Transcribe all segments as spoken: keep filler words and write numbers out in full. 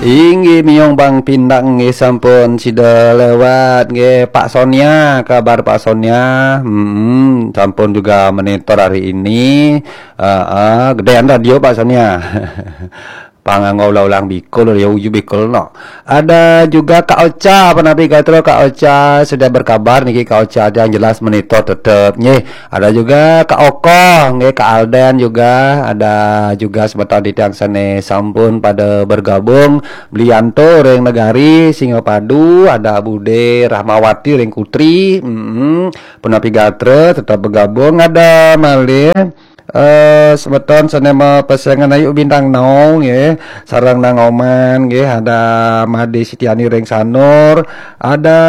Inggih, miong Bang Pindang nggih, sampun sida lewat nggih. Pak Sonia, kabar Pak Sonia? Hmm, sampun juga monitor hari ini. Heeh, gedean radio Pak Sonia. Panganggo ulang-ulang bikul, ya uju bikul no. Ada juga Kak Ocha, penapi gatra Kak Ocha sudah berkabar niki, Kak Ocha yang jelas monitor tetep nggih. Ada juga Kak Okoh, nggih, Kak Alden juga, ada juga semeton titiang sane sampun pada bergabung, Blianto ring Negari Singapadu, ada Bude Rahmawati ring Kutri, mm, penapi gatra tetap bergabung, ada malih eh semeton sane mapesengan Ayu Bintang Naung nggih, sareng Nang Oman nggih, ada Made Sitiani ring Sanur, ada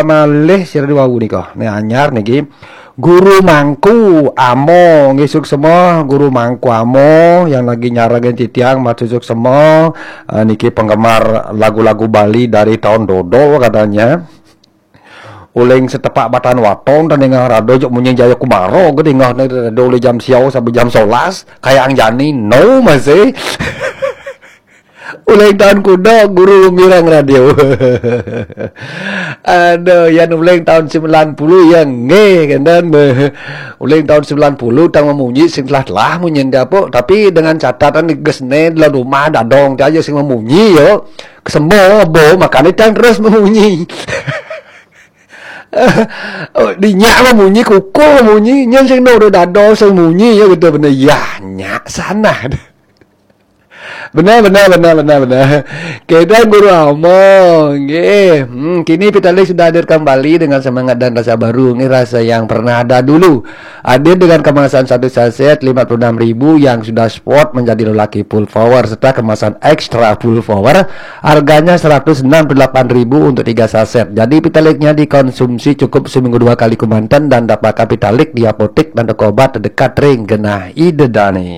malih sira dua nika. Nih anyar niki. Guru Mangku Amo nggih, suksma Guru Mangku Amo yang lagi nyarengin titiang, matur suksma. Eh, niki penggemar lagu-lagu Bali dari tahun dodol katanya. Uling setepak batan waton dan dingeh rado jok munyi Jaya Kumaro, ke dingeh ne rado le jam siau sampai jam solas, kayang jani no masih. Ulang tahun kuda guru mirang radio. Aduh, yan ulang tahun sembilan puluh ya nggih, kan, dan be-, ulang tahun sembilan puluh tang memunyi sing telah-telah munyi apa, tapi dengan catatan di gesne dalam rumah dadong aja sing memunyi yo. Kesembo bo makane tang terus memunyi. Oh, dinyak memunyi, kukuh memunyi, nyen sing no dadong sing munyi ya gitu bener. Ya, nyak sana. Benar, benar, benar, benar, benar. Kedai Guru Amo, nggih. Hmm, kini Pitalis sudah hadir kembali dengan semangat dan rasa baru. Ini rasa yang pernah ada dulu. Hadir dengan kemasan satu saset lima puluh enam ribu yang sudah sport menjadi lelaki full power serta kemasan extra full power, harganya seratus enam puluh delapan ribu untuk tiga saset. Jadi Pitalisnya dikonsumsi cukup seminggu dua kali kemanten dan dapatkan Pitalik di apotek dan toko obat terdekat ring genah Ida Dane.